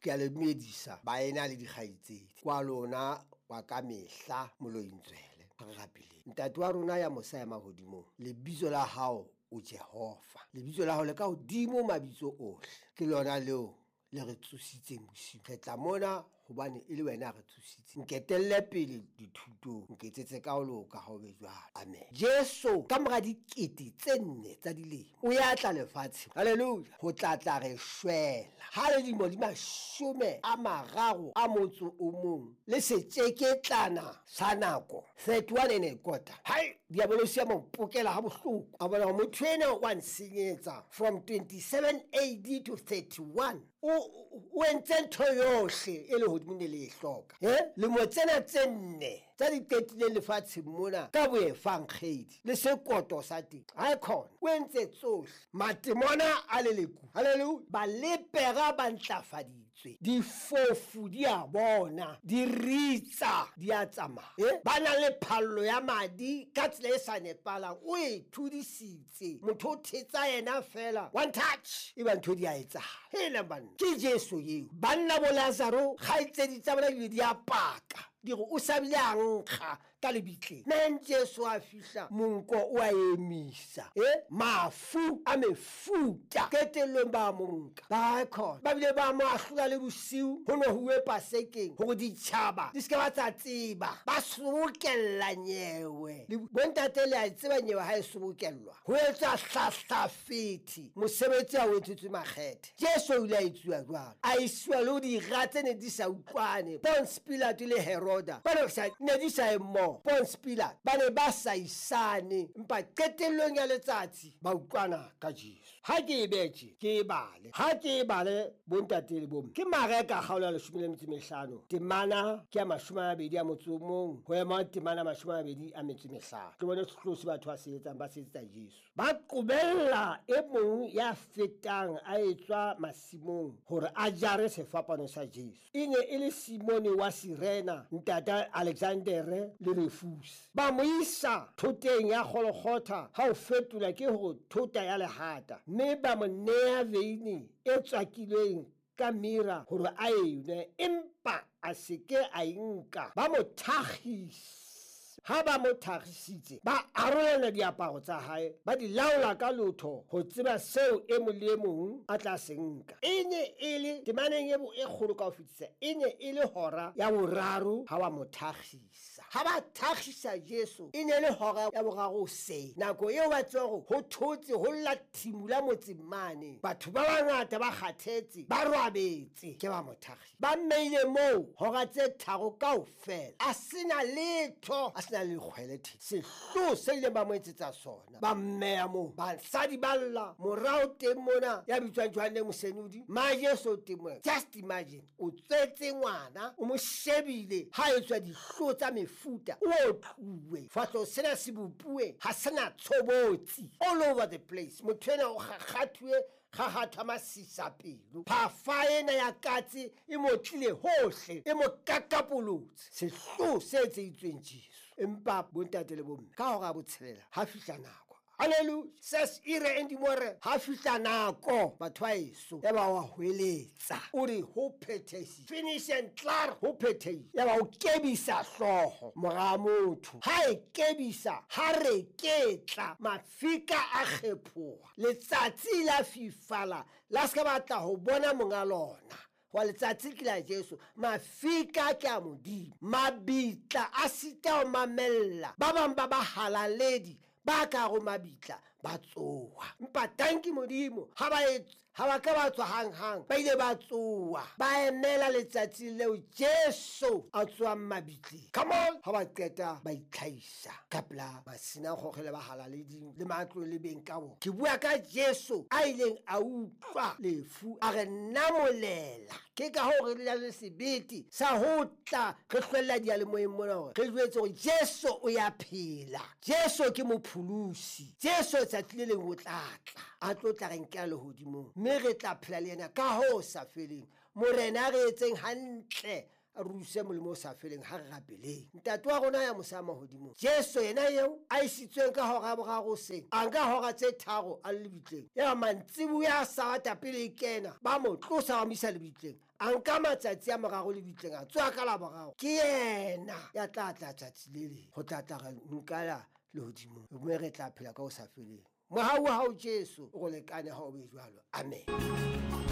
Ke a le dumedisa baena le dikgaitsedi kwa lona wa ka mehla Molointswele. Re rapeleng. Ntate wa rona ya mosa ya mahodimong, lebitso la hao o Jehova. Lebitso la hao le ka hodimo mabitso ohle. Ke lona leo le re tsositseng bosiu. Re tla mona hobane e le wena re tsositse. Nketelle pele dithutong, nketsetse ka ho loka ha o be jwalo. Amen. Jesu ka mora 4000 tsa dilemo o ya tla lefatsheng. Hallelujah. Ho tla tla re shwela. Ha le dilemo di 31 le setjeketlana sa nako 31 1/4. Hai, diabolosi ya mo pokela ha bohloko. A bona hore motho ena wa nsenyetsa from 27 AD to 31. O entse ntho yohle e le hodimo ne le e hloka. Lemo tsena tse nne tsa di qetileng lefatsheng mona ka boefankgedi le sekoto sa teng. Ha khona o entse tsohle. Matemona a leleku. Hallelujah. Balepera ba ntlafaditswe. Difofu di a bona, di ritsa, di a tsamaya. Ba na le phallo ya madi ka tsela e sa nepalang, o e thudisitse. Motho o thetsa yena fela, one touch, e ba ntho di a etsahala. Hela banna, ke Jesu eo. Banna bo Lazaro, kgaitsedi tsa bona di a paka, di re o sa bile a nkga ka lebitleng. Men Jesu a fihla, monko o a emisa. Mafu a mefuta qetellong ba monka. Ba khona ba bile ba mo ahlola le bosiu, ho no huwe pasekeng hore ditjhaba di se ke ba tsa tseba. Ba sobokella nyewe. Bontate le a tseba nyewe ha e sobokellwa, ho etsa hlahlafethi, mosebetsi ha o etsetswe makgethe. Jesu o ile a etsuwa jwalo, a isiwa le ho dira tse ne di sa utlwane. Ponce Pilato le Heroda ba ne di sa ye mmoho. Ponce Pilato ba ne ba sa isane, empa qetellong ya letsatsi ba utlwana ka Jesu. Ha ke e betše, ke e bale. Ha ke e bale bontate le bomme. Ke Mareka kgaolo ya 15, temana ke ya 21 ho ema temana 25. Ke bone sehloho se batho ba se etsang, ba se etsetsa Jesu. Ba qobella e mong ya fetang a etswa masimong hore a jare sefapano sa Jesu. E ne e le Simone wa Sirena, ntata Alexandere le Refuse. Ba mo isa thoteng ya Golgotha, ha o fetola ke ho thota ya lehata, mme ba mo nea veine e tswakilweng ka mira hore a e nwe, empa a se ke a e nka. Ba mo thakgisa. Ha ba mo thakgisitse, ba arolana diaparo tsa hae, ba di laola ka lotho ho tseba seo e mong le e mong a tla se nka. E ne e le temaneng e kgolo ka ho fetisa, e ne e le hora ya boraro ha ba mo thakgisa. Ha ba thakgisa Jesu, e ne e le hora ya boraro hoseng, nako eo ba tseba hore ho thotse, ho lla thimula motseng mane, batho ba bangata ba kgathetse, ba robetse, ke ba mo thakgisa. Ba mmeile moo hora tse 3 kaofela, a sena letho, a sena le lekgwele the. Sehloho se ileng ba mo etsetsa sona, ba mmeya moo. Basadi ba lla morao teng mona, ya bitswang Johanne Mosenodi, ma Jesu teng mona. Just imagine, o tswetse ngwana, o mo shebile ha etswa dihloho tsa mefuta, o otluwe, fahloho sena se bopuwe, ha sena tshobotsi, all over the place. Motho ena o kgakgathuwe, kgakgathwa masisa pelo. Phafa ena ya katse e mo tlile hohle, e mo kakapolotse. Sehloho se etseditsweng Jesu. Empa bontate le bomme, ka hora ya 6 ha fihla nako. Hallelujah. Ses ire endimore, ha fihla nako, batho ba eso, ya ba wa hweletsa, o re ho phethehile, finish and klaar, ho phethehile. Ya ba o kebisa hlooho mora motho. Ha e kebisa, ha reketla, mafika a kgephoha, letsatsi la fifala, la se ka batla ho bona monga lona. Wa letsatsi ke la Jesu, mafika ke a Modimo, mabitla a sita ho mamella. Ba bang ba bahalaledi ba ka ho mabitla ba tsoha, empa tanki Modimo ha ba ka ba tswa hanghang, ba ile ba tsoha, ba emela letsatsi leo Jesu a tswang mabitleng. Come on, ha ba qeta ba itlhahisa ka pela masinagoge le bahalaleding le matlo le beng ka bona. Ke bua ka Jesu a ileng a utlwa lefu, a re namolela. Ke ka hoo re na le sebete sa ho tla re hlwella diyalemoyeng mona hore re jwetse hore Jesu o ya phela, Jesu ke mopholosi, Jesu tsatsi le leng o tla tla, a tlo tla re nkela lehodimong, mme re tla phela le yena ka ho sa feleng. Morena a re etseng hantle, A ruse molemo o sa feleng. Ha re rapeleng. Ntate wa rona ya mosa mahodimong, Jesu yena eo a isitsweng ka hora ya boraro hoseng, a nka hora tse 3 a le lebitleng. Ya mantsiboya a Sabata pele e kena, ba mo tlosa ba mo isa lebitleng. A nka matsatsi a mararo lebitleng, a tswa ka la boraro. Ke yena ya tla tla tsatsi le leng ho tla tla re nkala lehodimong, mme re tla phela ka ho sa feleng. Mohau wa hao Jesu o re lekane ha o be jwalo. Amen.